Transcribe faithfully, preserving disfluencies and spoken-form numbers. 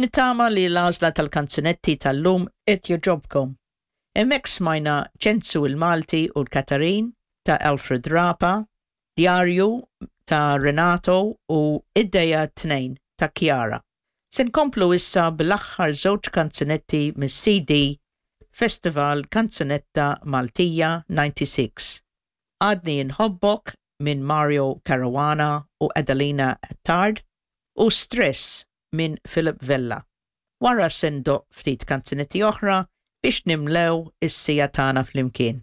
Nittama li l-għażla tal-kanzunetti tal-lum qed jogħġobkom. Hemmhekk smajna Ċensu il-Malti u l-Katarin ta' Alfred Rapa, Djarju ta' Renato u Id-Dejja Tnejn ta' Chiara. Se nkomplu issa bl-aħħar żewġ kanzunetti mis-C D Festival Kanzunetta Maltija disgħa u disgħin. Għadni Nħobbok minn Mario Caruana u Adelina Attard u Stress minn Philip Vella. Wara se ndoqq ftit kanzunetti oħra biex nimlew is-siegħa tagħna flimkien.